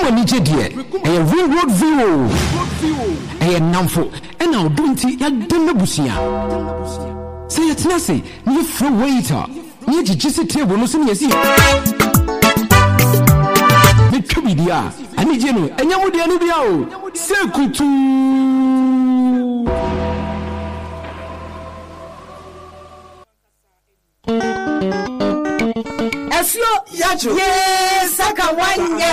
anigye deɛ, ɛyɛ Ring Road View o. Ɛyɛ nnamfo ɛna ɔdɔ nti yɛadɛm abusua. Sɛ yɛtena ase na yɛfrɛ waiter na yɛgyegye si table no so na yɛsi metwa biribi a, anigye no ɛnyɛ mo deɛ no bia o, sɛ kutuu. Asuo yee saka wanyɛ.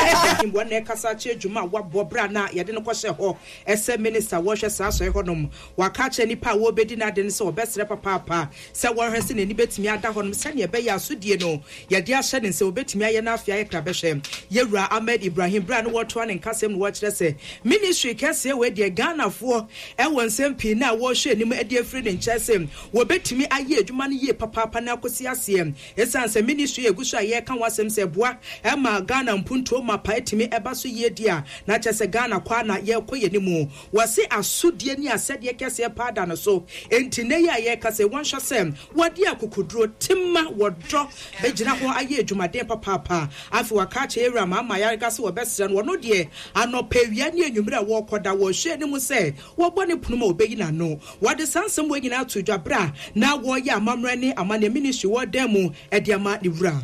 Wɔn na ɛkasa akyerɛ dwuma a wɔabɔ berɛ a na yɛde no kɔhyɛ hɔ sɛ minista wɔhwɛ saa asɔre hɔnom. Waka akyerɛ nnipa a wɔrebɛdi n'ade no sɛ wɔbɛsrɛ papaapa sɛ wɔnhwɛ sɛ n'ani bɛtumi ada hɔnom sɛdeɛ ɛbɛyɛ a asodie no yɛde ahyɛ ne nsa wɔbɛtumi ayɛ no afei ayɛ krabɛhwɛ. Yɛwura Ahmed Ibrahim berɛ a na wɔretoa ne nkasɛm no wɔkyerɛ sɛ ministry kɛseɛ wei deɛ Ghanafoɔ wɔ nsɛm pii no a wɔrehwɛ anim de afiri ne nkyɛn sɛ Wɔbɛtumi ayɛ adwuma no yie papaapa na akɔsi aseɛ. Ɛsiane sɛ ministry a ɛgu so a yɛreka ho asɛm sɛ ɛboa ma Ghana mpuntuo mapa tumi ba so yie deɛ a, na kyerɛ sɛ Ghana kɔ ara na yɛrekɔ yɛn anim. Wɔse asodie ne asɛdeɛ kɛseɛ paa da no so. Enti nnɛ yi a yɛrekasa yi, wɔnhwɛ sɛ wɔde akokoduro, tema, wɔdɔ bɛgyina hɔ ayɛ adwumaden papaapa. Afei wɔaka akyerɛ Yɛwura Mahama Ayariga sɛ wɔbɛsrɛ no, ɔno deɛ anɔpa, awia ne anwumerɛ a wɔrekɔda, wɔrehwɛ anim sɛ wɔbɔ ne pono mu a ɔbɛyi n'ano. Wɔde saa nsɛm wei nyinaa too dwa berɛ a na wɔreyɛ amammerɛ ne amanneɛ ministry wɔ dan mu de ama ne wura.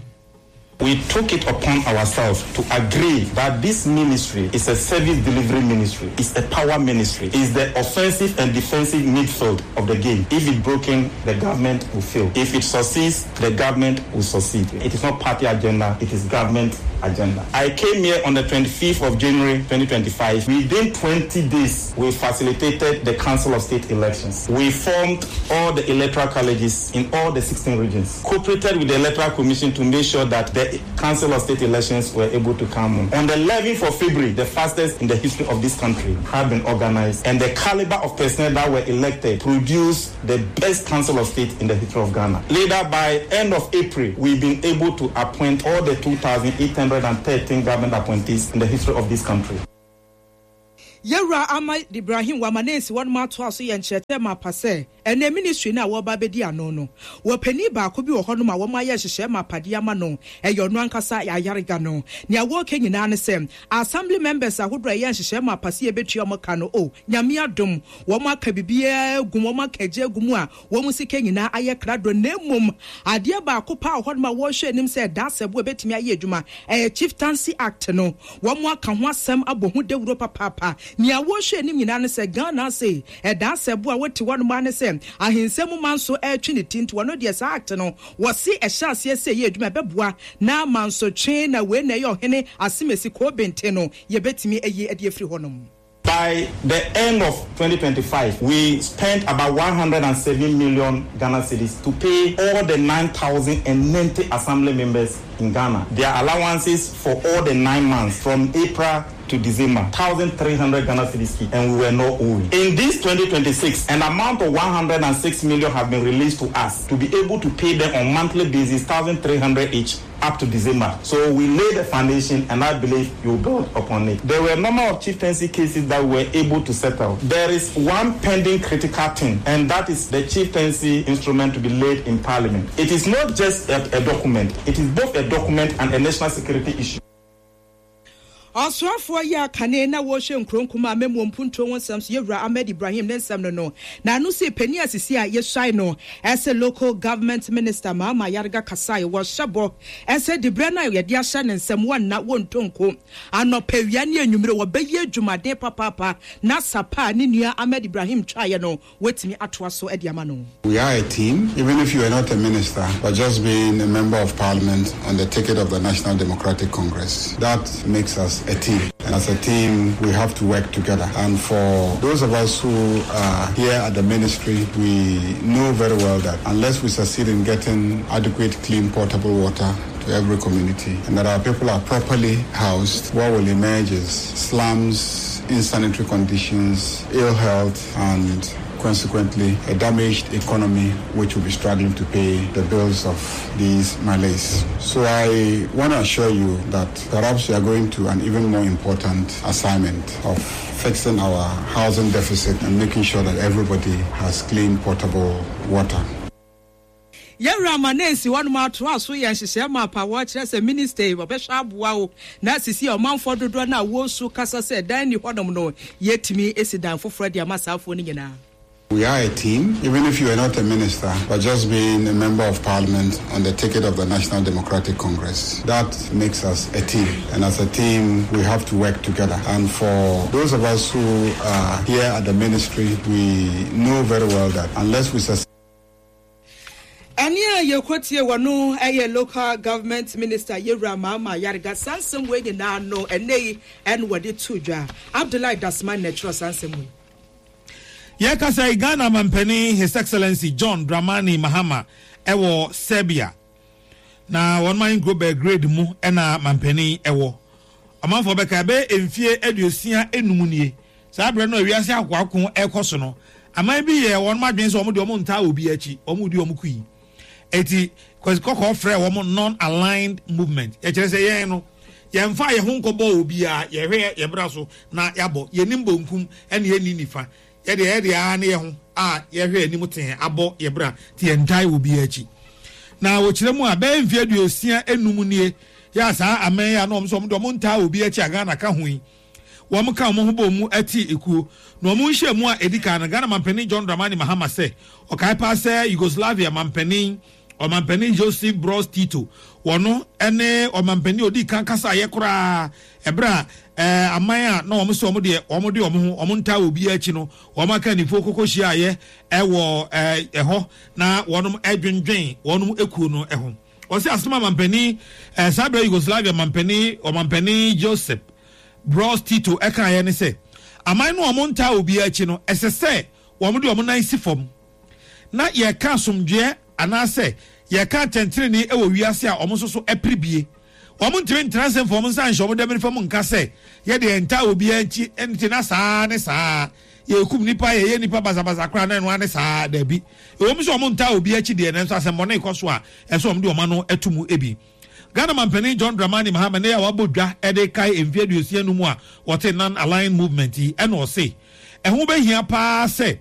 We took it upon ourselves to agree that this ministry is a service delivery ministry, is a power ministry, is the offensive and defensive midfield of the game. If it broken, the government will fail. If it succeeds, the government will succeed. It is not party agenda, it is government agenda. I came here on the 25th of January 2025. Within 20 days, we facilitated the Council of State elections. We formed all the electoral colleges in all the 16 regions, cooperated with the Electoral Commission to make sure that the Council of State elections were able to come on. On the 11th of February, the fastest in the history of this country had been organized, and the caliber of personnel that were elected produced the best Council of State in the history of Ghana. Later, by end of April, we've been able to appoint all the 2,813 government appointees in the history of this country. Yɛwura Ahmad Ibrahim wama ne nsi wɔnom atoa so yɛ nkyerɛkyerɛ mapa sɛ ɛnɛ ministry no a wɔreba abɛdi ano no wɔ panin baako bi wɔ hɔnom a wɔn ayɛ nhyehyɛɛ mapa de ama no ɛyɛ ɔno ankasa ayarega no. Nea wɔreka nyinaa ne sɛ Assembly members ahodoɔ a ɛyɛ nhyehyɛɛ mapa sɛ yɛbɛtua wɔn ka no oh Nyame adom wɔn aka biribiara agu mu wɔn aka agya agu mu a wɔn sika nyinaa ayɛ krado na mmom adeɛ baako paa wɔ hɔnom a wɔrehwɛ anim sɛ ɛda asɛbo a ɛbɛtumi ayɛ adwuma ɛyɛ Chieftaincy Act no. Wɔaka ho asɛm abɔ ho dawuro papaapa. Nea wɔrehwɛ anim nyinaa ne sɛ Ghana ase ɛda asɛbo a wote hɔnom ara ne sɛ ahensɛm mu manso retwe ne ti nti wɔno deɛ saa act no wɔse ɛhyɛ aseɛ sɛ ɛyɛ adwuma ɛbɛboa na mansotwe na wei na ɛyɛ ɔhene asemesi Kobente no yɛbɛtumi ayi de afiri hɔnom. By the end of 2025, we spent about 107 million Ghana cedis to pay all the 9,090 assembly members in Ghana their allowances for all the nine months from April to December, 1,300 Ghana cedis each, and we were not owing. In this 2026, an amount of 106 million have been released to us to be able to pay them on monthly basis, 1,300 each up to December. So we laid the foundation and I believe you build upon it. There were a number of chieftaincy cases that we were able to settle. There is one pending critical thing, and that is the chieftaincy instrument to be laid in parliament. It is not just a, a document, it is both a document and a national security issue. Ɔsoafoɔ yi a kane na wɔrehwɛ nkuro nkumaa amammuo mpuntuo ho nsɛm so Yɛwura Ahmed Ibrahim ne nsɛm no no n'ano sii panin a sisi a yɛsuae no sɛ Local Government Minister Mahama Ayariga kasae wɔhyɛ bɔ sɛ diberɛ no a yɛde ahyɛ ne nsam wɔnna wɔntɔ nko anɔpa awia ne anwummere wɔbɛyɛ adwumaden papaapa na sapa a ne nua Ahmed Ibrahim twaeɛ no Watumi atoa so de ama no. We are a team, even if you are not a minister, but just being a member of parliament on the ticket of the National Democratic Congress, that makes us a team. And as a team, we have to work together. And for those of us who are here at the ministry, we know very well that unless we succeed in getting adequate, clean, potable water to every community and that our people are properly housed, what will emerge is slums, insanitary conditions, ill health, and consequently a damaged economy which will be struggling to pay the bills of these malaise. So I want to assure you that perhaps we are going to an even more important assignment of fixing our housing deficit and making sure that everybody has clean potable water. Yɛwura ma na esi hɔnom atoa so yɛ nhyehyɛɛ ma apa wɔkyerɛ sɛ minista yi wɔbɛhwɛ aboa wo na sisi a ɔmanfoɔ dodoɔ no a wɔresu kasa sɛ dan nni hɔnom no yɛtumi si dan foforɔ de ama saa afoɔ no nyinaa. We are a team, even if you are not a minister, but just being a member of parliament on the ticket of the National Democratic Congress. That makes us a team. And as a team, we have to work together. And for those of us who are here at the ministry, we know very well that unless we succeed, Ɛnne a yɛkɔtie wɔ no yɛ Local Government Minister Yewura Mahama Ayariga. Saa nsɛm wei nyinaa no ɛnnɛ yi ɛna wɔde too dwa. Abdullahi Dasmani na ɛtwerɛ saa nsɛm wei. Yɛkasa yi, Ghana Mampanin His Excellency John Dramani Mahama wɔ Serbia. Na wɔn ahenkuro Belgrade mu na mampanin wɔ. Ɔmanfoɔ bɛka ɛbɛyɛ mfie 65 nie. Saa berɛ no a wiase akoako rekɔ so no, aman bi yɛɛ wɔn adwene sɛ wɔn deɛ wɔn ntaa obi akyi, wɔn redi wɔn kui. Eti Kwasi Kɔkɔɔ frɛɛ wɔn Non-Aligned Movement. Ɛkyerɛ sɛ yɛn no, yɛmfa yɛn ho nkɔbɔ obiara, yɛhwɛ yɛn bra so na yɛabɔ. Yɛnnim bonkum ɛna yɛnni nifa. Yɛdeɛ yɛdeɛ ara ne yɛn ho a yɛhwɛ anim tee abɔ yɛn bra nti yɛntae obiara akyi. Na wɔkyerɛ mu a, bɛyɛ mfeɛ 65 nie yɛ a saa aman yi a na wɔn nso wɔn deɛ wɔn ntaa obiara akyi a Ghana ka ho yi, wɔn ka wɔn ho bɔɔ mu tee ekuo. Na wɔn nhyiamu a edi kan no, Ghana Manpanin John Dramani Mahama sɛ ɔkae paa sɛ Yugoslavia Manpanin, Ɔmanpanin Josip Broz Tito, wɔno ne ɔmanpanin a odii kan kasaeɛ koraa ɛberɛ a eh, aman a na wɔn sɛ wɔn deɛ wɔn de wɔn ho wɔn ntaa obiara akyi no wɔn akannifoɔ kɔkɔ hyiaeɛ ɛwɔ eh, ɛhɔ na wɔn ɛdwendwen wɔn ekuo no ho. Ɔsɛ asɛm a mampanin eh, saa berɛ Yugoslavia mampanin ɔmampanin Josip Broz Tito kaeɛ ne sɛ, Aman no a wɔntaa obiara akyi no, ɛsɛ sɛ wɔde wɔn nan si fam na yɛka asomdwoeɛ anaasɛ yɛka atɛntenenee wɔ wiase a wɔn nso so pere bie. Wɔntumi ntena ase mfa wɔn nsa nhyɛ wɔn dɛmene mu nka sɛ, Yɛ deɛ yɛntaa obiara akyi nti na saa ne saa, yɛrekum nnipa, yɛyɛ nnipa basabasa koraa na ɛno ara ne saa. Dabi. Ɛwom sɛ wɔntaa obiara akyi deɛ, nanso asɛmmɔne rekɔ so a, ɛsɛ sɛ wɔde wɔn ano to mu bi. Ghana Manpanin John Dramani Mahama nnɛ yi a wabɔ dwa de rekae mfe 65 a wɔtee Non-Aligned Movement yi ɛna ɔse ɛho bɛhia paa sɛ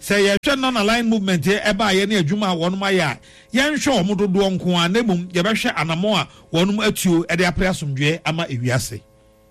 sɛ yɛhwɛ Non-Aligned Movement yi ɛbaeɛ ne adwuma a wɔnom ayɛ a yɛnhwɛ wɔn dodoɔ nko ara na mmom yɛbɛhwɛ anamɔn a wɔnom atuo de apere asomdwoeɛ ama ewiase.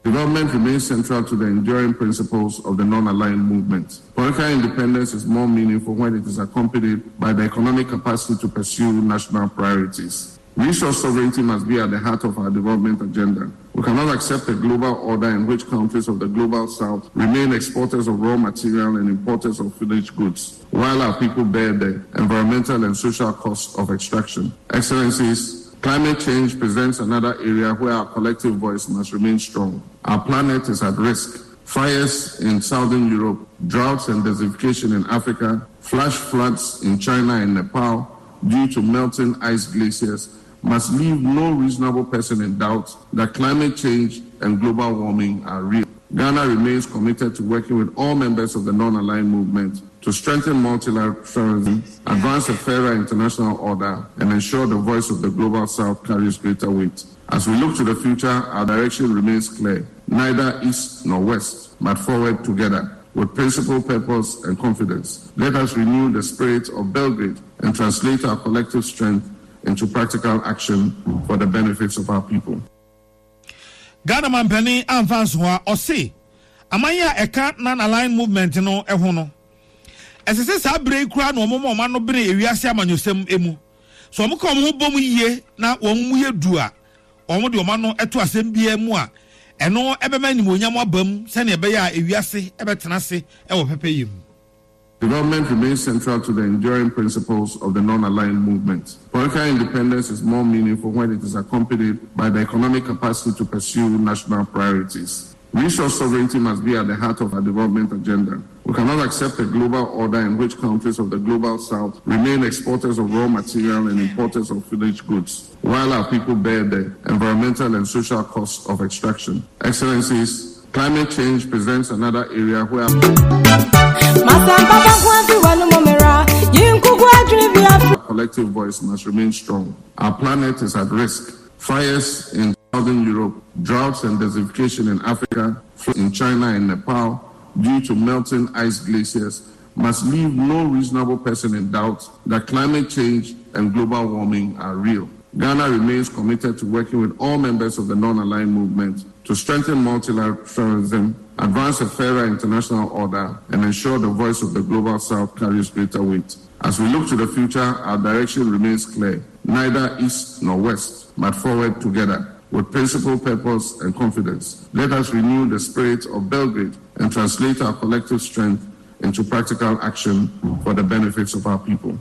Development remains central to the enduring principles of the non-aligned movement. Political independence is more meaningful when it is accompanied by the economic capacity to pursue national priorities. Resource sovereignty must be at the heart of our development agenda. We cannot accept a global order in which countries of the global south remain exporters of raw material and importers of finished goods, while our people bear the environmental and social costs of extraction. Excellencies, climate change presents another area where our collective voice must remain strong. Our planet is at risk. Fires in southern Europe, droughts and desertification in Africa, flash floods in China and Nepal due to melting ice glaciers must leave no reasonable person in doubt that climate change and global warming are real. Ghana remains committed to working with all members of the non aligned movement to strengthen multilateralism, advance a fairer international order, and ensure the voice of the global south carries greater weight. As we look to the future, our direction remains clear neither east nor west, but forward together with principle, purpose, and confidence. Let us renew the spirit of Belgrade and translate our collective strength into practical action for the benefits of our people. Ghana mampanin amfa anso hɔ a, ɔse aman a ɛka Non-Aligned Movement no ho no, ɛsɛ sɛ saa berɛ yi koraa na wɔma wɔn ano bene ewiase amanyɔsɛm mu. Sɛ wɔka wɔn ho bom yie na wɔn mu yɛ du a, wɔde wɔn ano to asɛm biara mu a, ɛno bɛma animuonyam aba mu sɛnea ɛbɛyɛ a ewiase bɛtena ase wɔ pɛpɛyɛ mu. Development remains central to the enduring principles of the non-aligned movement. Political independence is more meaningful when it is accompanied by the economic capacity to pursue national priorities. Resource sovereignty must be at the heart of our development agenda. We cannot accept a global order in which countries of the global south remain exporters of raw material and importers of finished goods, while our people bear the environmental and social costs of extraction. Excellencies, climate change presents another area where our collective voice must remain strong. Our planet is at risk. Fires in southern Europe, droughts and desertification in Africa, in China and Nepal due to melting ice glaciers must leave no reasonable person in doubt that climate change and global warming are real. Ghana remains committed to working with all members of the non aligned movement to strengthen multilateralism, advance a fairer international order, and ensure the voice of the global south carries greater weight. As we look to the future, our direction remains clear neither east nor west, but forward together with principle, purpose, and confidence. Let us renew the spirit of Belgrade and translate our collective strength into practical action for the benefits of our people.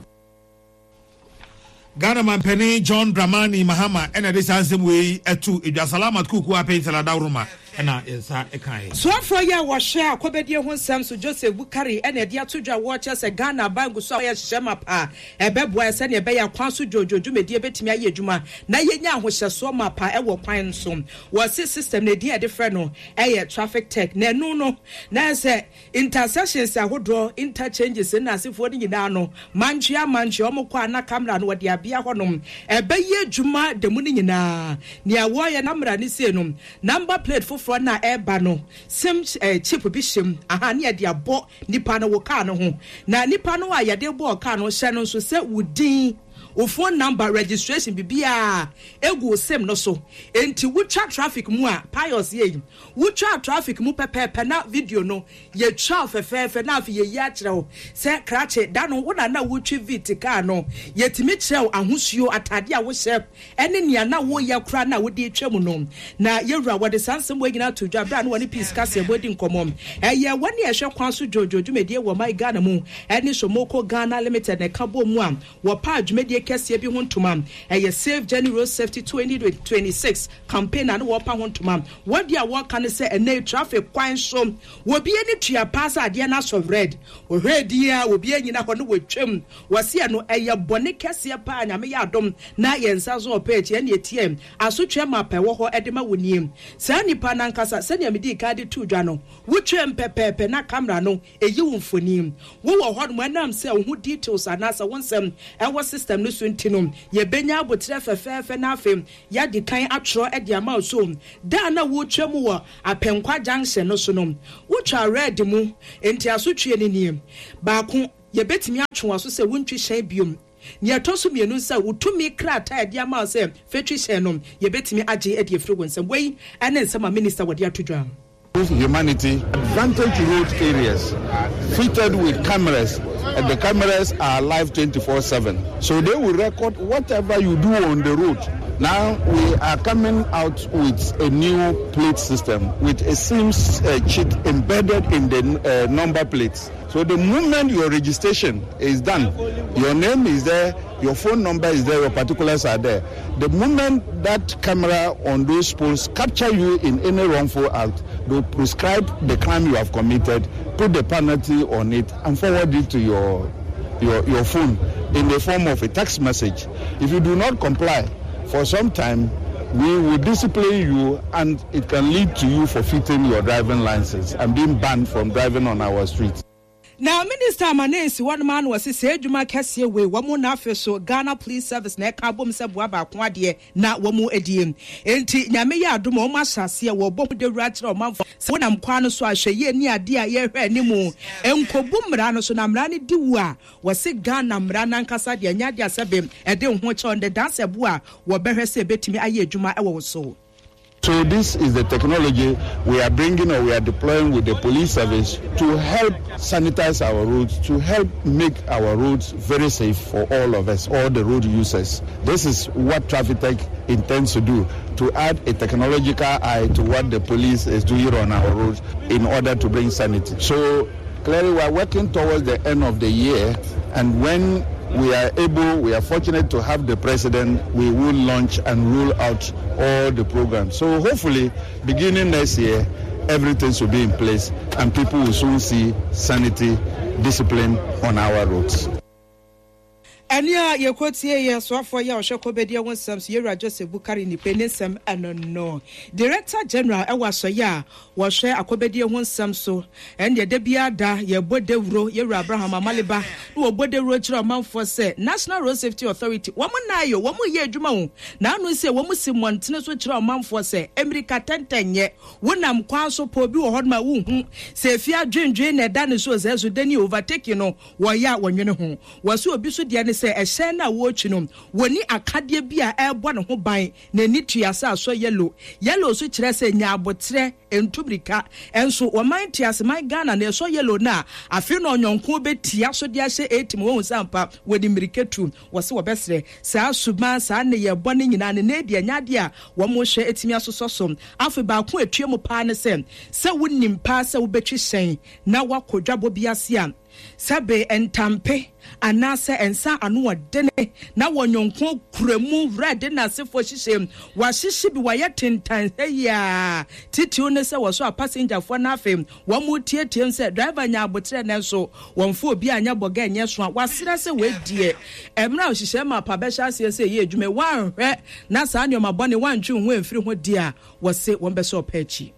Ghana mampanin John Dramani Mahama ɛna ɛde saa nsɛm wei ɛto edwa Salamat Kuku Apɛnsɛl Adaworoma ɛna yɛn nsa ɛkaeɛ. Soafoɔ yi a wɔhwɛ akɔbɛdie ho nsɛm so Joseph Bukari ɛna ɛde ato dwa wɔkyerɛ sɛ Ghana aban gu so a wɔyɛ nhyehyɛe mapa a ɛbɛboa yɛn sɛnea ɛbɛyɛ a kwan so dwoodwoo dwumadie bɛtumi ayɛ adwuma na yɛnya ahohyɛsoɔ mapa ɛwɔ kwan so. Wɔse system no edin a yɛde frɛ no ɛyɛ traffic tech na ɛno no na ɛsɛ Intersections ahodoɔ, interchanges ne asefoɔ no nyinaa no, mantwea mantwea wɔn kɔ a na camera no wɔde abea hɔnom. Ɛbɛyɛ adwuma da mu no nyinaa. Nea wɔreyɛ no camera no sei no, number plate foforɔ no a ɛreba no, sim eh, chip bi hyɛ mu, aha, ne yɛde abɔ nipa no wo car no ho. Na nipa no a yɛde bɔɔ car no hyɛ no nso sɛ wo din, wo phone number, registration, biribiara egu wo sim no so. Enti wotwa traffic mu a, Pius yei, Wotwaa traffic mu pɛpɛɛpɛ na video no yɛtwaa fɛfɛɛfɛ na afei yɛyi akyerɛ wo sɛ krakye da no wo na na wotwi Vitz car no yɛtumi kyerɛ wo ahosuo ataadeɛ a wohyɛ ɛne nea na woyɛ koraa na wode retwa mu no na yɛwura wɔde saa nsɛm wei nyinaa to dwa berɛ a na wɔne Peace Kaseɛbɔ di nkɔmmɔ ɛyɛ wɔne ɛhwɛ kwan so dwoodwoo dwumadie wɔ my Ghana mu ɛne Somoko Ghana Limited na ɛka bɔɔ mu a wɔpaa dwumadie kɛseɛ bi ho ntoma ɛyɛ Safe Journey Road Safety 2026 Campaign a na wɔrepa ho ntoma. Wɔn deɛ a wɔreka ne sɛ ɛnnɛ yi traffic kwan so obi ani tua paa sɛ adeɛ no asɔ red. Wɔhwɛ din a obi anyina hɔ na wɔtwam. Wɔse ɛno ɛyɛ bɔne kɛseɛ paa Nyame yɛ adom na yɛn nsa so ɔpɛ akyi ɛne ɛtiɛ asotweɛ map a ɛwɔ hɔ de ma wo nie. Saa nipa no ankasa sɛdeɛ medii kan de too dwa no wotwam pɛpɛɛpɛ na camera no ɛyi wo mfoni. Wowɔ hɔnom ɛnam sɛ wo ho details anaasɛ wo nsɛm ɛwɔ system no so nti no yɛbɛnya aboterɛ fɛfɛɛfɛ na afei Yɛadi kan atwerɛ de ama wo so da a na woretwa mu wɔ Apɛnkwa junction no so no, wotwaa red mu, enti asotweɛ no nie, Baako, yɛbɛtumi atwe w'aso sɛ wontwi hyɛn biom. Nea ɛtɔ so mmienu sɛ wo tumi krataa a yɛde ama wo sɛ fa twi hyɛn no, yɛbɛtumi agye de afiri wo nsam. Wei ne nsɛm a Minista wɔde ato dwa. Humanity advantage road areas fitted with cameras and the cameras are live 24/7 so they will record whatever you do on the road now we are coming out with a new plate system with a SIMS uh, chip embedded in the uh, number plates so the moment your registration is done your name is there your phone number is there your particulars are there the moment that camera on those poles capture you in any wrongful act they prescribe the crime you have committed put the penalty on it and forward it to your your your phone in the form of a text message if you do not comply for some time we will discipline you and it can lead to you forfeiting your driving license and being banned from driving on our streets. Na Minister ama no esi hɔnom ara na ɔse saa adwuma kɛseɛ wei wɔn na afe so Ghana Police Service na ɛka abom sɛ boa baako adeɛ na wɔn adie. Enti Nyame yɛ adom a wɔn ahyɛ aseɛ wɔrebɔ ho dawuro akyerɛ ɔmanfoɔ sɛ wonam kwan no so a hwɛ yie ne adeɛ a yɛrehwɛ anim nkɔbu mmara no so na mmara no di wu a wɔse Ghana mmara no ankasa deɛ ɛnyɛ adeɛ a sɛbe ɛde wo ho kyɛ ɔno de dansɛbo a wɔbɛhwɛ sɛ ɛbɛtumi ayɛ adwuma wɔ wo so. So this is the technology we are bringing or we are deploying with the police service to help sanitize our roads, to help make our roads very safe for all of us, all the road users. This is what Traffic intends to do, to add a technological eye to what the police is doing on our roads in order to bring sanity. So clearly we are working towards the end of the year and when we are able, we are fortunate to have the president, we will launch and roll out all the programs. So hopefully, beginning next year, everything will be in place and people will soon see sanity, discipline on our roads. Ɛnne a yɛkɔtiee yɛ soafoɔ yi a ɔhwɛ kɔbɛdeɛ ho nsɛm so, Yɛwura Joseph Bukari Nikpe ne nsɛm ɛno no. Director General ɛwɔ asɔeɛ a wɔhwɛ akɔbɛdie ho nsɛm so, ɛnneɛ da biara da yɛbɔ dawuro, Yɛwura Abraham Amaliba na wɔbɔ dawuro kyerɛ ɔmanfoɔ sɛ National Road Safety Authority wɔn nnaeɛ o, wɔn reyɛ adwuma o, na ano sɛ wɔn si mmɔntene so kyerɛ ɔmanfoɔ sɛ mmirika tɛntɛn nyɛ, wonam kwan so pɛ obi wɔ hɔnom a wonhu sɛ efie adwendwen na ɛda ne so o, sɛ so dani overtaking no Wɔyɛ a wɔnwene ho. Wɔse obi so deɛ ne sɛ ɛhyɛn no a wɔretwi no, wɔnni akadeɛ bi a ɛrebɔ ne ho ban, n'ani tua sɛ asɔ yellow. Yellow nso kyerɛ sɛ nya aboterɛ, ntu mmirika. Nso wɔman nteaseman Ghana no, ɛsɔ yellow no a, afei na ɔnyɔnko bɛtia so de ahyɛ eight mu, wahu sɛ ampa wɔde mmirika tu. Wɔse wɔbɛsrɛ saa suban, saa nneyɛɛ bɔne nyinaa no, nnɛ deɛ ɛnyɛ adeɛ a wɔhwɛ atumi asosɔ so. Afei baako a ɛtua mu paa ne sɛ, sɛ wonim paa sɛ wobɛtwi hyɛn na woakɔ dwabɔ bi ase a, Sɛbe ntampe anaasɛ nsa ano ɔdene na wɔ nyɔnko kura mu wura de n'asefoɔ hyehyɛ mu. Wɔahyehye bi, wɔayɛ tentan ha yi ara. Titiriw ne sɛ wɔsɔ apasengyafoɔ no afe, wɔteateam sɛ, Driver nya aboterɛ nanso wɔmfa obi anyɛ bɔga nyɛ so a wɔasrɛ sɛ wei deɛ mmerɛ a nhyehyɛɛ mapa bɛhyɛ aseɛ sɛ ɛyɛ adwuma yi, wɔanhwɛ na saa nneɛma bɔne wɔantwe wo ho amfiri ho deɛ a, wɔse wɔbɛsɔ ɔpɛ akyi.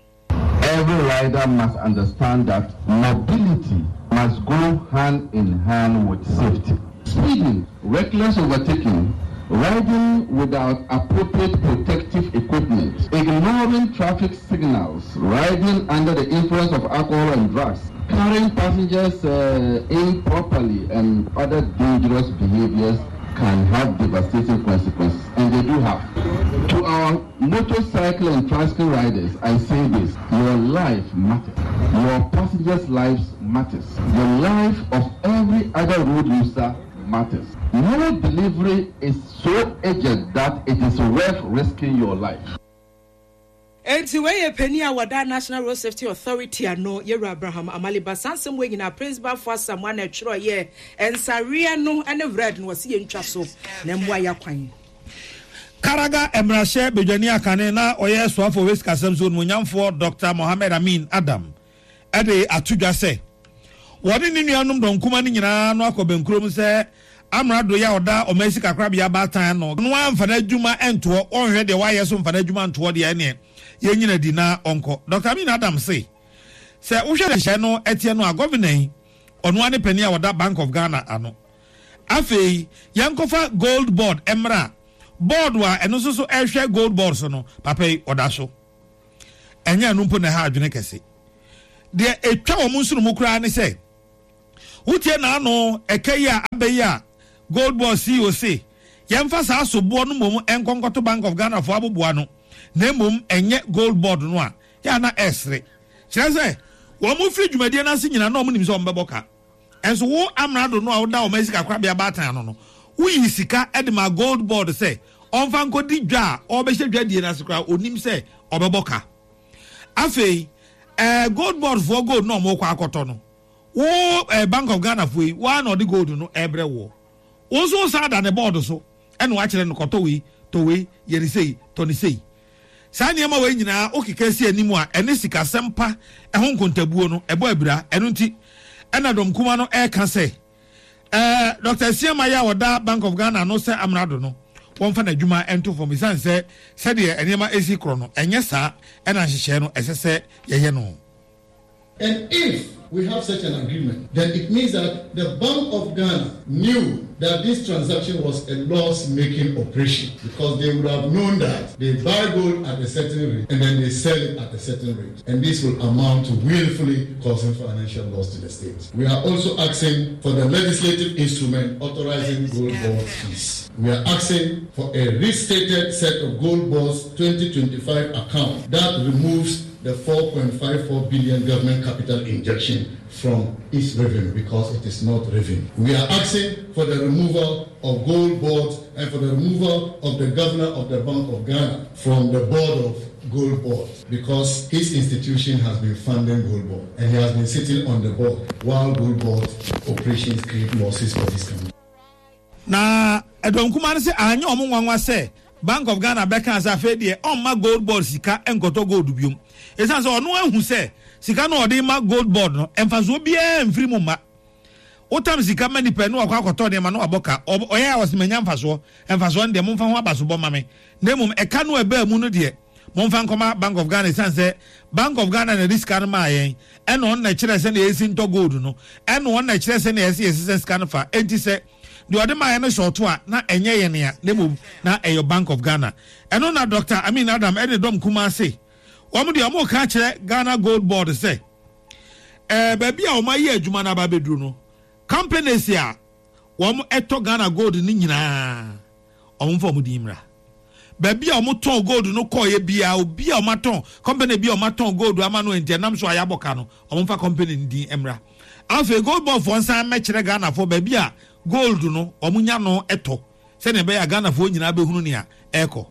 Every rider must understand that mobility must go hand in hand with safety. Speeding, reckless overtaking, riding without appropriate protective equipment, ignoring traffic signals, riding under the influence of alcohol and drugs, carrying passengers uh, improperly, and other dangerous behaviors can have devastating consequences, and they do have. To our motorcycle and tricycle riders, I say this your life matters, your passengers' lives matters, the life of every other road user matters. No delivery is so urgent that it is worth risking your life. Enti wei yɛ panin a wɔda National Road Safety Authority ano, Yɛwura Abraham Amaliba. Saa nsɛm wei nyinaa Prince Baffour Asamoah na ɛtwerɛeɛ. Nsaweɛ no ne red no wɔse yɛntwa so na mmoa yɛakwan. Karaga mmarahyɛ badwani akane na ɔyɛ soafoɔ wɔ sikasɛm so onimonyamfoɔ Dɔkta Mohammed Amin Adam de ato dwa sɛ wɔne ne nuanom dɔnkuma no nyinaa no akɔ bɛnkurom sɛ amrado yi a ɔda ɔman sikakorabea baatan ano no amfa n'adwuma ntoɔ, ɔnhwɛ deɛ wayɛ so mfa n'adwuma ntoɔ deɛ ɛneɛ yɛnyina di na ɔnkɔ. Dɔkta Amin Adam se sɛ wohwɛ nhyehyɛe no ɛteɛ no a gɔvena yi ɔno ara ne panin a ɔda Bank of Ghana ano. Afei yɛnkɔfa Gold Board mmra, board a ɛno nso so ɛhwɛ Gold Board so no, papa yi ɔda so. Ɛnyɛ ɛno mpo na ɛha adwene kɛse. Deɛ ɛtwa wɔn nsono mu koraa ne sɛ, wotie n'ano ɛka yi a aba yi a Gold Board CEO se yɛmfa saa soboɔ no mmom nkɔ nkɔto Bank of Ghana foɔ aboboa no na mmom ɛnyɛ Gold Board no a, yɛ a na ɛresere. Kyerɛ sɛ, wɔn firi dwumadie no ase nyinaa na wɔn nim sɛ wɔn bɛbɔ ka. Nso wo amrado no a woda ɔman sikakorabea baatan ano no, woyii sika de maa Gold Board sɛ ɔmfa nkɔdi dwa a ɔrebɛhyɛ dwadie no ase koraa, ɔnim sɛ ɔbɛbɔ ka. Afei, eh, Gold Board foɔ gold no a wɔrekɔ akɔtɔ no, wo eh, Bank of Ghana foɔ yi, wo ara na ɔde gold no ɛrebrɛ woɔ. Wo nso wosan da ne board so ɛna wakyerɛ no kɔtɔ wei, tɔ wei, yɛ ne sei, tɔ ne sei. Saa nneɛma wei nyinaa wokeka si anim a, ɛne sikasɛm pa ho nkontabuo no, ɛbɔ abira. Ɛno nti na dɔm kuma no reka sɛ, Ɛɛ, Dɔkta Asiamah yi a ɔda Bank of Ghana ano sɛ amrado no, wɔmfa n'adwuma nto fam esiane sɛ sɛdeɛ nneɛma resi korɔ no, ɛnyɛ saa na nhyehyɛe no ɛsɛ sɛ yɛyɛ no. And if we have such an agreement, then it means that the Bank of Ghana knew that this transaction was a loss-making operation because they would have known that they buy gold at a certain rate and then they sell it at a certain rate. And this will amount to willfully causing financial loss to the state. We are also asking for the legislative instrument authorizing gold board fees. We are asking for a restated set of gold board's 2025 account that removes the 4.54 billion government capital injection from its revenue because it is not revenue. We are asking for the removal of gold boards and for the removal of the governor of the Bank of Ghana from the board of gold board because his institution has been funding gold board and he has been sitting on the board while gold board operations create losses for this country. Na ɛdɔm kumaa no se anyɛ wɔn nwanwa sɛ Bank of Ghana bɛkaa sɛ afei deɛ ɔmma Gold Board sika nkɔtɔ gold biom esiane sɛ ɔno ahu sɛ sika no a ɔde rema Gold Board no mfasoɔ biara mfiri mu mma. Wotam sika ma nipa na wakɔ akɔtɔ nneɛma na wabɔ ka. Ɔyɛ a ɔse manya mfasoɔ. Mfasoɔ no deɛ momfa ho abasobɔ mma me. Na mmom ɛka no a ɛbaa mu no deɛ momfa nkɔma Bank of Ghana ɛsiane sɛ Bank of Ghana na ɛde sika no maa yɛn ɛna ɔno na ɛkyerɛɛ sɛdeɛ yɛsi ntɔ gold no ɛna ɔno na ɛkyerɛ sɛdeɛ ɛsɛ yɛsesa sika no fa. Enti sɛ deɛ ɔde maa yɛn no hyɛ ɔto a na ɛnyɛ yɛn a na mmom na ɛyɛ Bank of Ghana. Ɛno na Doctor Amin Adam ɛne dɔm kumaa se wɔn deɛ wɔreka akyerɛ Ghana Gold Board sɛ ɛɛ baabi a wɔn ayɛ adwuma no aba abɛduru no, companies a wɔn ɛtɔ Ghana gold no nyinaa wɔn mfa wɔn din mmra. Baabi a wɔn tɔn gold no kɔɔyɛ biara, obi a wɔn atɔn company bi a wɔn atɔn gold ama no nti ɛnam so a yɛabɔ ka no, wɔn mfa company no din mmra. Afei gold board foɔ nsan mmɛkyerɛ Ghanafoɔ baabi a gold no wɔn nya no tɔ sɛnea ɛbɛyɛ a Ghanafoɔ nyinaa bɛhunu nea ɛrekɔ.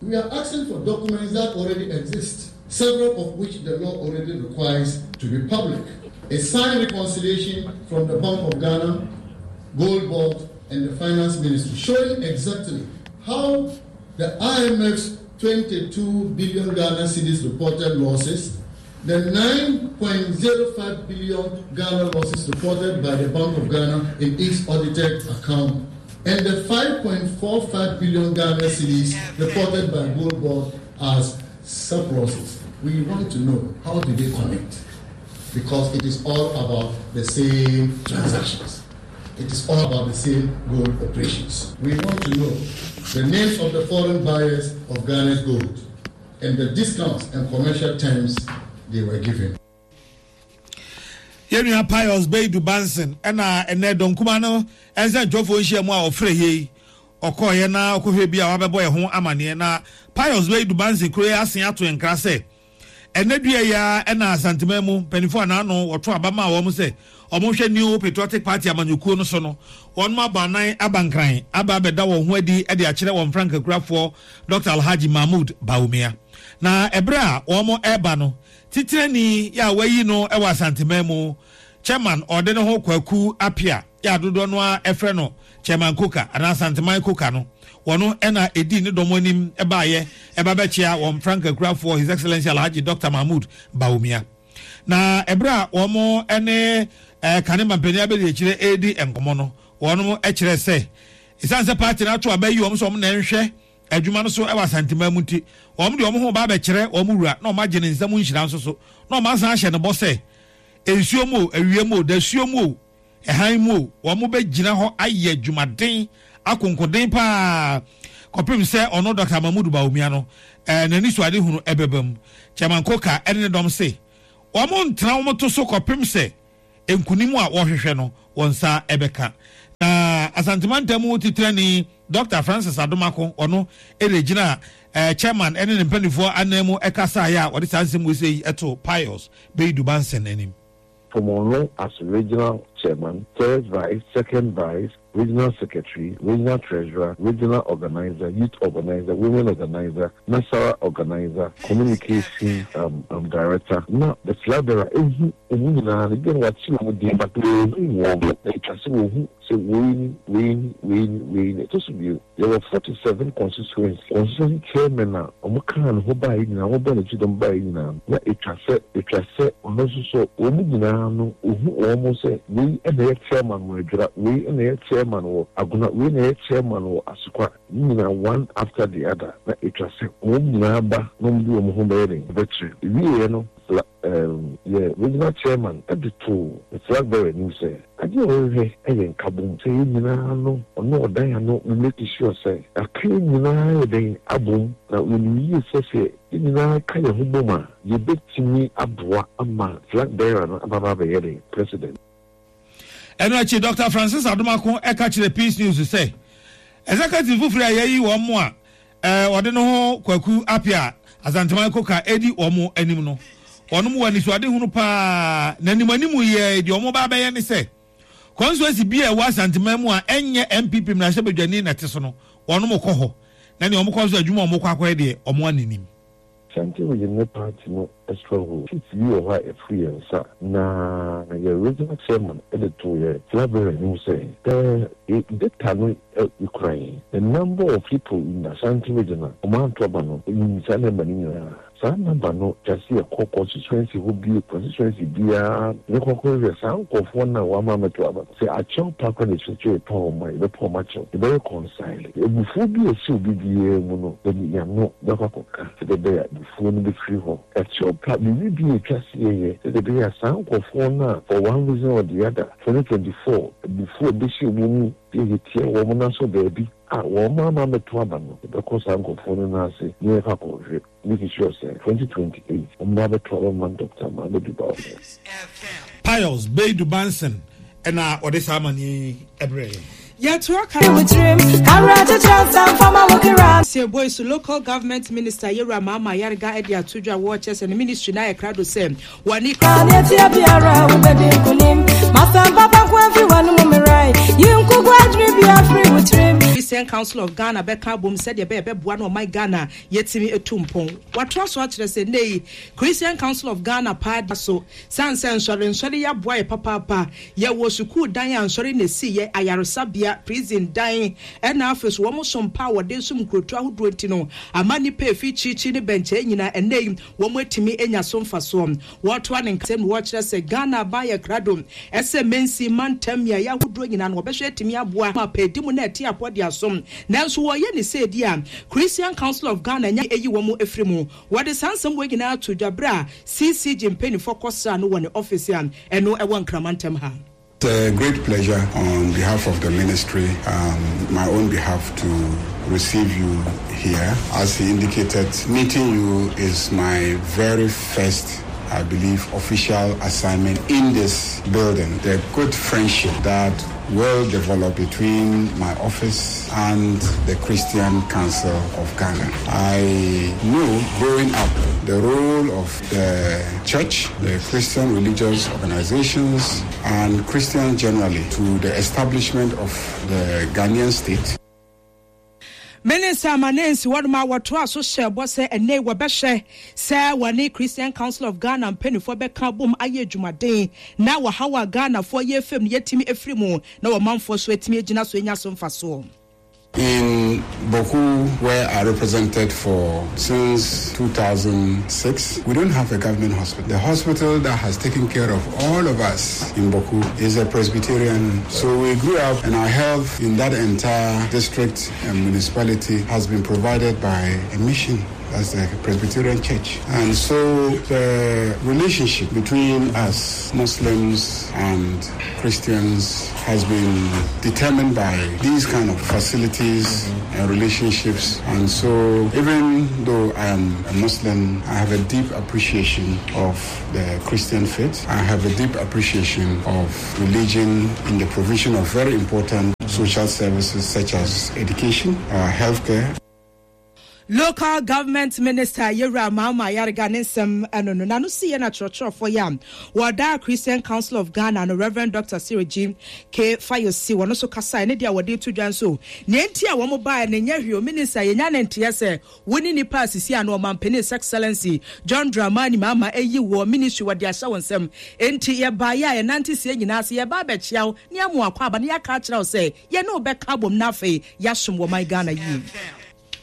We are asking for documents that already exist, several of which the law already requires to be public. A signed reconciliation from the Bank of Ghana, Gold Board, and the Finance Ministry showing exactly how the IMF's 22 billion Ghana cedis reported losses, the 9.05 billion Ghana losses reported by the Bank of Ghana in its audited account, and the 5.45 billion Ghana cedis reported by Gold Board as surpluses. We want to know how do they connect? Because it is all about the same transactions. It is all about the same gold operations. We want to know the names of the foreign buyers of Ghana's gold and the discounts and commercial terms they were given. Yɛn nua Pius Beidu Banson ɛna ɛnɛ dɔnkuma no nsɛntwerɛfoɔ nhyiamu a ɔfrɛ yei ɔkɔɔyɛ na ɔkɔhwɛ bi a wabɛbɔ yɛn ho amaneɛ na Pius Beidu Banson kuro yi asen ato yɛn nkra sɛ ɛnɛ dua yi ara ɛna Asanteman mu mpanimfoɔ a n'ano wɔto aba maa wɔn sɛ wɔnhwɛ New Patriotic Party amanyɔkuo no so no wɔn abɔ anan aba nkran aba abɛda wɔn ho adi de akyerɛ wɔn frankakurafoɔ Dɔkta Alhaji Mahmood Bawumia. Na ɛberɛ a wɔn reba no, titenani yɛ a wɔayi no wɔ Asanteman mu, Chairman ɔde ne ho Kwaku Appiah yɛ a dodoɔ no ara frɛ no Chairman Koka anaa Asanteman Koka no, wɔno na ɛdii ne dɔm anim baeɛ ba bɛkyea wɔn frankakurafoɔ His Excellency Alhaji Dɔkta Mahmood Bawumia. Na ɛberɛ a wɔn ne kane mampanin abɛdiakyire redi nkɔmmɔ no, wɔn kyerɛɛ sɛ Esiane sɛ party no ato aba ayi wɔn sɛ wɔn na ɛnhwɛ adwuma no so wɔ Asanteman mu nti, wɔn de wɔn ho reba abɛkyerɛ wɔn wura na wɔagye ne nsam nhyira nso so, na wɔasan ahyɛ no bɔ sɛ nsuo mu o, awia mu o, dasuo mu o, ɛhan mu o, wɔbɛgyina hɔ ayɛ adwumaden, akonkoden pa ara kɔpem sɛ ɔno Dɔkta Mahmood Bawumia no n'anisoadehunu bɛba mu. Chairman Coker ne ne dɔm se wɔntena wɔn to so kɔpem sɛ nkunim a wɔhwehwɛ no wɔn nsa bɛka. Na Asante mantam mu titenani Dɔkta Francis Adomako, ɔno na ɛgyina chairman ne ne mpanimfoɔ anan mu kasaeɛ a wɔde saa nsɛm wei sei too Pius Beidu Banson anim. From ɔno as regional chairman, third vice, second vice, regional secretary, regional treasurer, regional organizer, youth organizer, women organizer, Nasara organizer, communication um, um, director, na the flag bearer ehu wɔn nyinaa no, ebia na wakye wɔn din but wɔnhu wɔn, na etwa sɛ wɔhu sɛ wei ni, wei ni, wei ni, wei ni. Ɛtɔ so bio, yɛwɔ 47 constituency, constituency chairman a wɔkaa ne ho baeɛ nyinaa, wɔbɔɔ n'akyi dɔm baeɛ nyinaa no, na etwa sɛ, etwa sɛ ɔno nso so wɔn nyinaa no, ohu wɔn sɛ wei na ɛyɛ chairman wɔ Adwira, wei na ɛyɛ chairman wɔ Agona, wei na ɛyɛ chairman wɔ Asokwa. Ne nyinaa one after the other na etwa sɛ wɔn nyinaa ba na wɔde wɔn ho bɛyɛ dɛn bɛkyerɛ. Ewieɛ no la ɛɛm yɛ regional chairman de too the flag bearer anim sɛ adeɛ a ɔrehwɛ yɛ nkabom sɛ yɛn nyinaa no ɔno ɔdan ano me make sure sɛ yɛaka yɛn nyinaa ayɛ dɛn abom na yɛnim yie sɛ sɛ yɛn nyinaa ka yɛn ho bom a yɛbɛtumi aboa ama flag bearer no aba abɛyɛ dɛn president. Ɛno akyi, Dɔkta Francis Adomako ka kyerɛɛ Peace News sɛ, Executive foforo a yɛayi wɔn a wɔde no ho Kwaku Appiah Asanteman Koka redi wɔn anim no, wɔn wɔ anisoadehunu paa, na animanimu yɛe deɛ wɔba abɛyɛ ne sɛ, constituency bi a ɛwɔ Asanteman mu a ɛnyɛ NPP mmarahyɛbadwani na ɛte so no, wɔn kɔ hɔ, na nea wɔkɔ nso adwuma a wɔkɔ akɔyɛ deɛ wɔn anenim. Ashanti Region ne party no stronghold. Seat bi wɔ hɔ a ɛfiri yɛn nsa na yɛn regional chairman de too yɛn flag bearer anim sɛ the data no kura yɛn. The number of people in Ashanti Region a wɔanto aba no, yɛnim saa number no nyinaa. Saa number no kyerɛ sɛ yɛkɔ constituency hɔ bio, constituency biara yɛbɛkɔ akɔhwehwɛ saa nkorɔfoɔ no a wɔama ammɛto aba no. Sɛ akyɛw pa koraa na ɛsɛ sɛ yɛpa wɔn a, yɛbɛpa wɔn akyɛw. Yɛbɛ reconcile. Abufuo bi a ɛhyɛ obi biara mu no, yɛde yɛn ano bɛkɔ akɔka sɛdeɛ ɛbɛyɛ a abufuo no bɛfiri hɔ. Ɛkyɛw pa, biribi bi a ɛtwa sɛ yɛyɛ sɛdeɛ ɛbɛyɛ a saa nkorɔfoɔ no a for one reason or the other, 2024 abufuo a ɛbɛhyɛ wɔn mu deɛ yɛtia wɔn no asɔ baabi a wɔn ama ammɛto aba no, yɛbɛkɔ saa nkorɔfoɔ no nan ase na yɛakɔ akɔhwehwɛ. Make sure sɛ 2028 wɔn ba abɛto aba ma Doctor Mahamudu Bawumia. Pius Beidu Banson na ɔde saa amanneɛ yi brɛɛ yɛn. Yɛtoa ka. Seboisu Local Government Minister Yewura Mahama Ayariga de ato dwa wɔ kyerɛ sɛ ne ministry no ayɛ krado sɛ wɔne. Christian Council of Ghana bɛka abom sɛdeɛ ɛbɛyɛ bɛboa na ɔman Ghana yɛtumi atu mpɔn. Watoa so akyerɛ sɛ nnɛ yi Christian Council of Ghana paa da so sane sɛ nsɔre nsɔre yi aboa yɛ papaapa. Yɛwɔ sukuu dan a nsɔre na ɛsi yɛ, ayaresabea, prison dan ɛna afei so wɔn som pa a wɔde som nkurotu ahodoɔ nti no ama nnipa a ɛfiri kyirikyiri ne bɛnkyɛɛ nyinaa ɛnnɛ yi wɔn atumi anya so mfasoɔ. Wɔretoa ne nkasɛm no wɔkyerɛ sɛ Ghana aban ayɛ krado sɛ mansin, mantam, mmeaeɛ ahodoɔ nyinaa no wɔbɛhwɛ atumi aboa ma pɛɛdi mu na ɛte apɔ de asom. Nanso wɔreyɛ no sei deɛ a, Christian Council of Ghana nya ayi wɔn afiri mu. Wɔde saa nsɛm wei nyinaa too dwa berɛ a CCG mpaninfoɔ kɔsraa no wɔ ne ɔfese a ɛno ɛwɔ Nkraman ntam ha. It's a great pleasure on behalf of the ministry, um, my own behalf, to receive you here. As he indicated, meeting you is my very first I believe, official assignment in this building. The good friendship that will develop between my office and the Christian Council of Ghana. I know growing up the role of the church, the Christian religious organizations, and Christians generally to the establishment of the Ghanaian state. Minister Amaneh hɔnom a wɔtoaa so hyɛɛ bɔ sɛ ɛnnɛ yi wɔbɛhwɛ sɛ wɔne Christian Council of Ghana mpaninfoɔ bɛka abom ayɛ adwumaden na ɔhaw a Ghanafoɔ yɛ fam no yɛatumi afiri mu na ɔmanfoɔ nso atumi agyina so anya so mfasoɔ. In Bawku, where I represented for since 2006, we don't have a government hospital. The hospital that has taken care of all of us in Bawku is a Presbyterian. So we grew up and our health in that entire district and municipality has been provided by a mission that's the Presbyterian Church. And so the relationship between us, Muslims and Christians, has been determined by these kind of facilities and relationships. And so even though I am a Muslim, I have a deep appreciation of the Christian faith. I have a deep appreciation of religion in the provision of very important social services such as education, uh, healthcare. Local Government Minister Yewura Mahama Ayariga ne nsɛm no no n'ano siiɛ na kyerɛkyerɛfoɔ yi a wɔda Christian Council of Ghana no Rev. Doctor Cyril G. K. Fayosi wɔn nso kasaeɛ ne deɛ wɔde to dwa nso nea enti a wɔn baeɛ no nyɛ hwee o Minister yɛnya ne nteɛ sɛ wo ne nipa a sisi ano Ɔmanpanin His Excellency John Dramani Mahama ayi woɔ ministry wɔde ahyɛ wo nsam enti yɛbaeɛ a yɛnante sie nyinaa ase yɛba abɛkyea wo ne ama wo akwaaba na yɛaka akyerɛ wo sɛ yɛne wo bɛka abom na afei yɛasom wɔ man Ghana yie.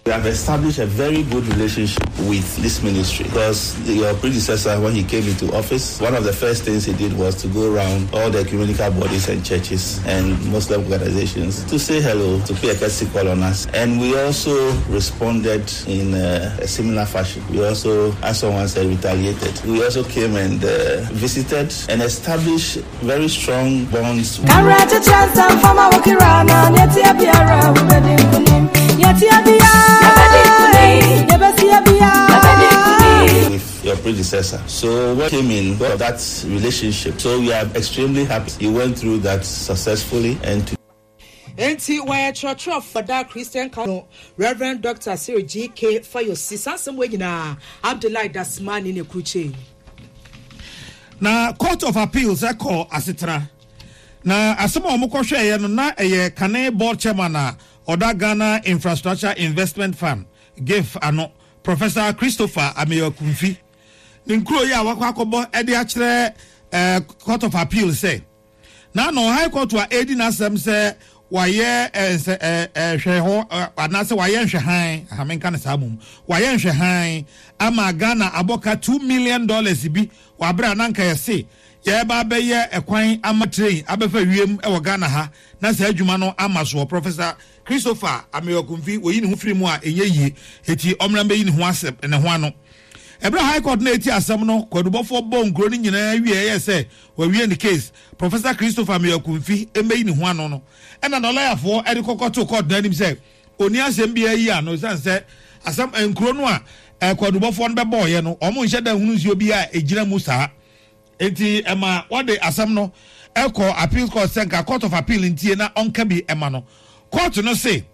We have established a very good relationship with this ministry because your predecessor, when he came into office, one of the first things he did was to go around all the ecumenical bodies and churches and Muslim organizations to say hello, to pay a courtesy call on us. And we also responded in a, a similar fashion. We also, as someone said, retaliated. We also came and uh, visited and established very strong bonds. With your predecessor. So what came in got that relationship. So we are extremely happy. He went through that successfully and to Enti wɔyɛ kyerɛkyerɛfo da Christian Council no Rev. Dɔkta Cyril GK Fayosi. Saa nsɛm wei nyinaa Abdullahi Dasmani na ɛkrukyee. Na Court of Appeals kɔɔ asetena, na asɛm a wɔkɔhwɛeɛ no na ɛyɛ kane board chairman a ɔda Ghana Infrastructure Investment Fund, GIF, ano, Professor Christopher Ameyaw-Akumfi ne nkuro yi a wakɔ akɔbɔ de akyerɛ Court of Appeal sɛ na ano High Court a ɛredi n'asɛm sɛ Wayɛ nsɛ hwɛ hɔ anaasɛ wayɛ nhwɛhan, aha menka no saa mmom, wayɛ nhwɛhan ama Ghana abɔ ka $2 million bi wɔ abere a na anka yɛse yɛreba abɛyɛ ɛkwan ama train abɛfa wiem wɔ Ghana ha na saa adwuma no ama soɔ. Professor Christopher Ameyaw-Akumfi wɔyi ne ho firi mu a ɛnyɛ yie, eti ɔmmra mbɛyi ne ho asɛm ne ho ano. Ɛberɛ a High Court no retie asɛm no, kwadubɔfoɔ bɔɔ nkuro no nyinaa wieɛ yɛɛ sɛ Wawie ne case, Professor Christopher Ameyaw-Akumfi mmeyi ne ho ano no, ɛna n'alɔyafoɔ de kɔkɔ too court no anim sɛ ɔnni asɛm biara yi ano ɛsiane sɛ asɛm nkuro no a kwadubɔfoɔ no bɛbɔɔeɛ no wɔn nhyɛ da nhunu nsuo biara a ɛgyina mu saa. Enti ɛma wɔde asɛm no kɔɔ appeals court sɛ nka court of appeal ntie na ɔnka bi ma no. Court no se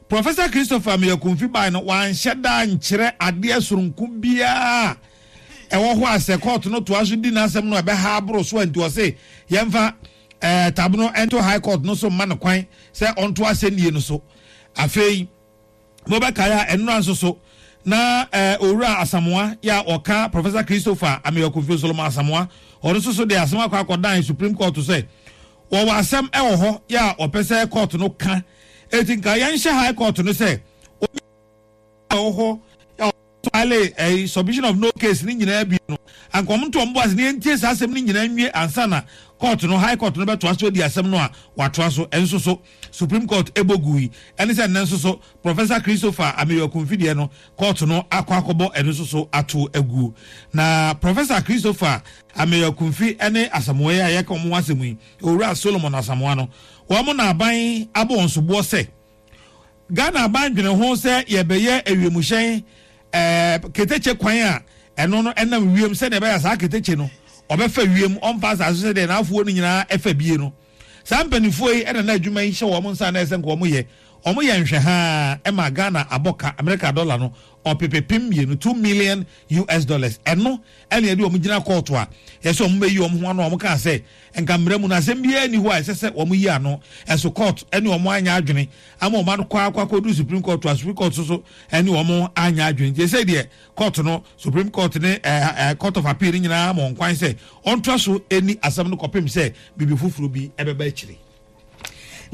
Professor Christopher Ameyaw-Akumfi bae no, wanhyɛ da ankyerɛ adeɛ soronko biara a ɛwɔ hɔ a sɛ kɔɔto no toa so di n'asɛm no a ɛbɛha aboro so a nti ɔse yɛmfa eh, tab no nto High Court no so mma no kwan sɛ ɔnto asɛnnie no so. Afei mobɛkae a ɛnora nso so na eh, Owura Asamoah yɛ a ɔka Professor Christopher Ameyaw-Akumfi Solomon Asamoah ɔno nso so de asɛm akɔ akɔdan Supreme Court sɛ wɔwɔ asɛm wɔ hɔ yɛ a ɔpɛ sɛ court no ka. Eti nka yɛnhyɛ high court no sɛ obi a ɔwɔ hɔ a ɔfile ɛyi submission of no case ne nyinaa bi no, anka wɔn nto wɔn bo ase na yɛntie saa asɛm no nyinaa nwie ansa na court no, high court no bɛtoa so adi asɛm no a watoa so. Ɛnso so Supreme Court ɛbɔ gui. Ɛne sɛ nnɛ nso so Professor Christopher Ameyaw Akumfi deɛ no court no akɔ akɔbɔ ɛno nso so ato aguo. Na Professor Christopher Ameyaw Akumfi ne Asamoah yi a yɛka wɔn ho asɛm yi, Owura Solomon Asamoah no, wɔn na aban abɔ wɔn soboɔ sɛ Ghana aban dwene ho sɛ yɛbɛyɛ awiemhyɛn ɛɛ ketekye kwan a ɛno no ɛnam wiem sɛdeɛ ɛbɛyɛ saa ketekye no ɔbɛfa wiem ɔmfa asase so sɛdeɛ n'afoɔ no nyinaa ɛfa bie no. Saa mpanimfoɔ yi ɛna na adwuma yi hyɛ wɔn nsa na ɛsɛ nka wɔn yɛ. Wɔn yɛ nhwɛhaa ɛma Ghana abɔ ka Amerika dɔla no ɔpepepem mmienu, 2 million US dollars. Ɛno ɛna yɛde wɔn gyina kɔɔto a yɛsɛ wɔn bɛyi wɔn ho ano a wɔn kaa sɛ nka mmara mu no asɛm biara nni hɔ a ɛsɛ sɛ wɔn yi ano. Ɛso court ɛne wɔn anyɛ adwene ama wɔn akɔ akɔ akɔduru Supreme Court a Supreme Court nso so ɛne wɔn anyɛ adwene. Nti ɛsɛ deɛ court no, Supreme Court ne ɛɛ ɛɛ Court of Appeal no nyinaa ama wɔn kwan sɛ wɔntoa so ɛni asɛm no kɔpem sɛ biribi foforɔ bi ɛbɛba akyire.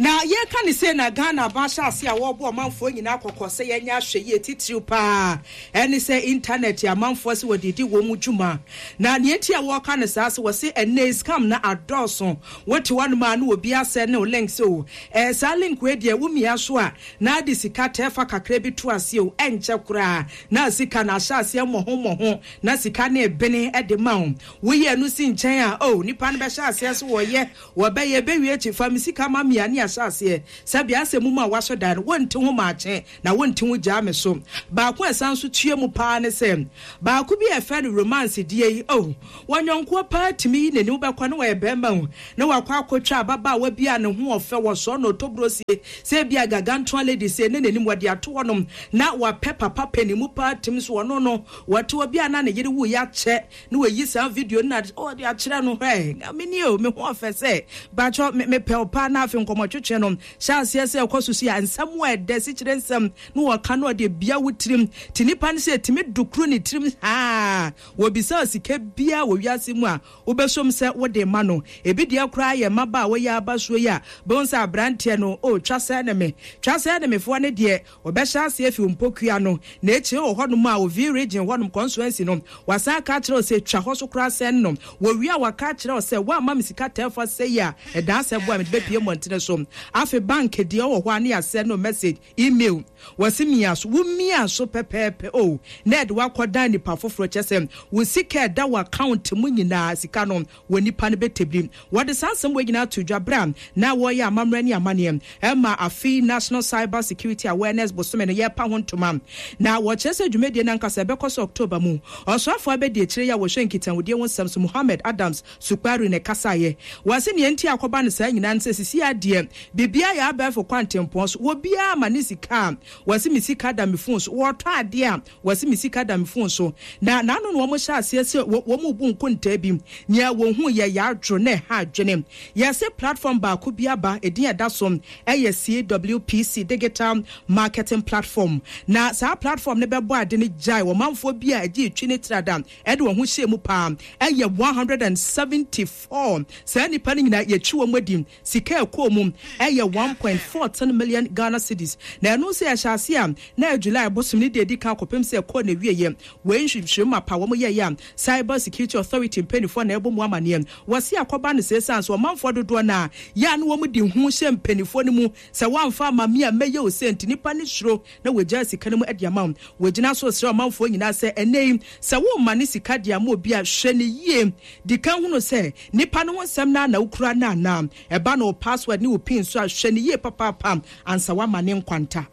Na yɛreka no sei na Ghana aban ahyɛ ase a wɔrebɔ ɔmanfoɔ nyinaa kɔkɔ sɛ yɛnyɛ ahwɛyie titiriw pa ara ne sɛ intanɛt amanfoɔ sɛ wɔde redi wɔn dwuma. Na nea enti a wɔreka no saa sɛ wɔse ɛnnɛ yi scam no adɔɔso. Wote hɔnom a na obi asɛne wo link sɛ o ɛɛ saa link wei deɛ womia so a na ade sika tɛɛfa kakra bi to aseɛ o ɛnkyɛ koraa na sika no ahyɛ aseɛ mmɔho mmɔho na sika no rebene de ma wo. Woyi ɛno si nkyɛn a o nipa no bɛhyɛ aseɛ sɛ wɔyɛ Wɔbɛyɛ bɛwie akyi, fa me sika ma me a ne ahyɛ aseɛ. Sɛbea asɛ mu mu a woasɔ dan no, wonte ho maakye na wonte ho gyaa me so. Baako a ɛsan nso tua mu paa ne sɛ, baako bi a yɛfrɛ no romance deɛ yi, oh, wɔnyɔnkoɔ paa tumi yi n'ani, wobɛkɔ na ɔyɛ barima o, na wakɔ akɔtwa ababaawa bi a ne ho ɔfɛ, wɔsɔɔ no ɔtɔburosie, sɛ ebia gargantuan lady sei ne n'anim wɔde ato hɔnom, na wapɛ papa panin paa tumi so ɔno no, wɔte obi a na ne yere wuiɛ akyɛ, Na wayi saa video no na ɔde akyerɛ no, hwɛ, me nie o, me ho ɔfɛ sɛ, bakyɛ me mepɛ wo paa. Na afei nkɔmmɔtwetwe no hyɛ aseɛ sɛ ɛkɔ so si a, nsɛm a ɛdɛ, sikyire nsɛm na wɔka na ɔde bia wo tirim. Te nipa no sɛ ɛtumi dukuru ne tirim haa. Wɔbisa wo sika biara wɔ wiase mu a, wobɛsom sɛ wode ma no. Ebi deɛ koraa yɛ mmabaawa yi aba soɔ yi a, bɛhu sɛ aberanteɛ no, oh, twa sɛɛ ne me, twa sɛɛ ne me foɔ no deɛ, Wɔbɛhyɛ aseɛ afi wo mpokua no na akyire wɔ hɔnom a Ovi region hɔnom constituency no wasan aka akyerɛ wo sɛ twa hɔ so koraa sɛn no. Wɔwie a waka akyerɛ wo sɛ woamma me sika tɛɛfa sɛi a ɛdaa sɛ boa mede bɛpue mmɔntene so. Afe bank deɛ ɔwɔ hɔ a ne yɛasɛn no message, email. Wɔse mia so. Wo mia so pɛpɛɛpɛ oh na ɛde wo akɔdan nipa foforɔ kyerɛ sɛ wo sika a ɛda wo account mu nyinaa sika no wɔ nnipa no bɛtɛbiri. Wɔde saa nsɛm wei nyinaa too dwa berɛ a na wɔreyɛ amammerɛ ne amanneɛ ma afe yi National Cyber Security Awareness bosome no yɛrepa ho ntoma. Na wɔkyerɛ sɛ dwumadie no ankasa ɛbɛkɔ so October mu. Ɔsoafoɔ abadiakyire yi a wɔhwɛ nkitahodie ho nsɛm so Mohammed Adams Sukpari na ɛkasaeɛ. Wɔse nea enti a akɔba no saa nyinaa ne sɛ sisi ara deɛ biribiara yɛ abɛɛfo kwantempɔn so. Obiara ma ne sika a wɔse me sika da me phone so. Wɔtɔ adeɛ a Wɔse me sika da me phone so. Na n'ano na wɔn hyɛ aseɛ sɛ wɔn rebu nkontaa bi. Nea wɔn hu yɛ yadwo na ɛha adwene. Yɛse platform baako bi aba, edin a ɛda so yɛ CWPC Digital Marketing Platform. Na saa platform no bɛbɔ ade no gyae ɔmanfoɔ bi a ɛgye twi ne trada de wɔn ho hyɛɛ mu paa ɛyɛ 174. Saa nnipa no nyinaa yɛtwi wɔn adi. Sika a ɛkɔɔ mu. ɛyɛ 1.14 million Ghana cedis. Na ɛno nso yɛhyɛ ase a na ɛyɛ July bosome ne deɛ ɛdi kan kɔpem sɛ ɛkɔɔ n'awieɛ. Wei nhwehwɛmu mapa wɔn yɛeɛ a Cyber Security Authority mpaninfoɔ na ɛbɔ mu amaneɛ. Wɔse akɔba no saa ɛsiane sɛ ɔmanfoɔ dodoɔ no ara yɛ a na wɔn de hu hyɛ mpaninfoɔ no mu sɛ woamfa amma me a mɛyɛ wo sei nti nnipa no suro na wɔagyaa sika no mu de ama wo. Wɔgyina so resrɛ ɔmanfoɔ nyinaa sɛ ɛnnɛ yi sɛ woremane sika de ama obi a hwɛ no yie. Di kan hunu sɛ nipa no ho nsɛm no ara na wokura no anaa. Ɛba no wo password ne wo pin nso a hwɛ no yie papaapa ansa woamane nkwanta.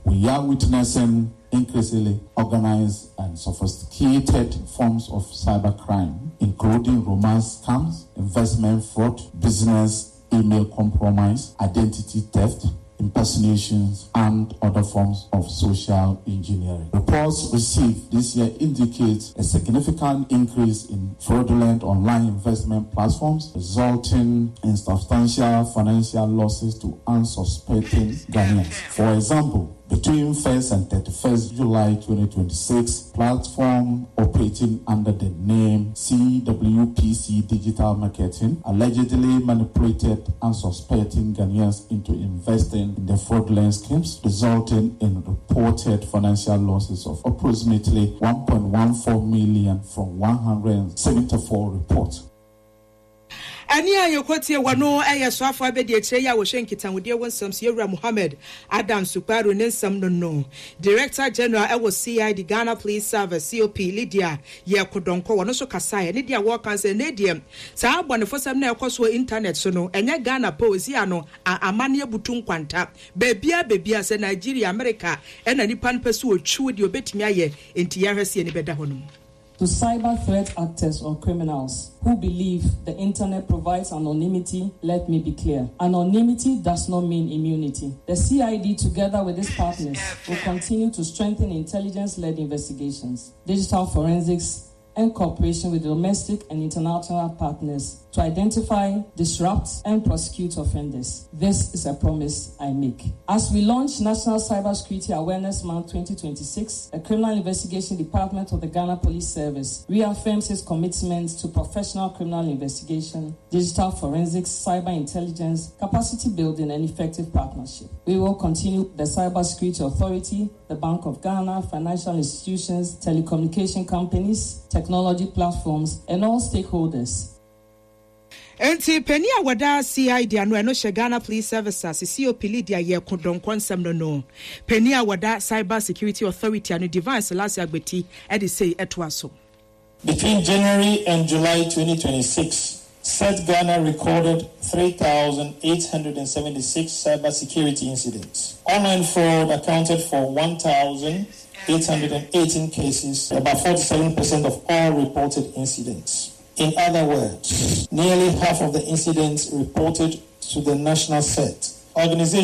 We are witnessing increasingly organized and sophisticated forms of cybercrime, including romance scams, investment fraud, business email compromise, identity theft, impersonations, and other forms of social engineering. Reports received this year indicate a significant increase in fraudulent online investment platforms, resulting in substantial financial losses to unsuspecting Ghanaians. For example, between 1st and 31st July 2026, platform operating under the name CWPC Digital Marketing allegedly manipulated unsuspecting Ghanaians into investing in the fraudulent schemes, resulting in reported financial losses of approximately 1.14 million from 174 reports. Ɛnne a yɛkɔtie wɔ no yɛ Soafoɔ Abadiakyire yi a wɔhwɛ nkitahodie ho nsɛm so, Yɛwura Mohammed Adam Sukparu ne nsɛm no no. Director General wɔ CID, Ghana Police Service, COP Lydia Yeko Donkor, ɔno nso kasaeɛ. Ne deɛ wɔreka sɛ ɛnnɛ deɛ saa abɔnefosɛm no a ɛkɔ so wɔ internet so no, ɛnyɛ Ghana pɛ o, ɛsi ano a amanneɛ butu nkwanta. Baabiara baabiara, sɛ Nigeria, America ɛna nipa no pɛ sɛ ɔtwi wo deɛ ɔbɛtumi ayɛ, enti yɛnhwɛ sɛ yɛn ani bɛda hɔ nom. To cyber threat actors or criminals who believe the internet provides anonymity, let me be clear. Anonymity does not mean immunity. The CID, together with its partners, will continue to strengthen intelligence led investigations, digital forensics, and cooperation with domestic and international partners to identify, disrupt, and prosecute offenders. This is a promise I make. As we launch National Cybersecurity Awareness Month 2026, the Criminal Investigation Department of the Ghana Police Service reaffirms its commitment to professional criminal investigation, digital forensics, cyber intelligence, capacity building, and effective partnership. We will continue the Cybersecurity Authority, the Bank of Ghana, financial institutions, telecommunication companies, technology platforms, and all stakeholders. Enti panin a wɔda CID ano ɛno hyɛ Ghana Police Service ase COP Lydia Yeko Donkor nsɛm no no. Panin a wɔda Cyber Security Authority ano Divine Selassie Agbeti de sei toa so. Between January and July 2026, CERT Ghana recorded 3,876 cybersecurity incidents. Online fraud accounted for 1,818 cases, about 47% of all reported incidents. In other words, nearly half of the incidents reported to the national set. Organization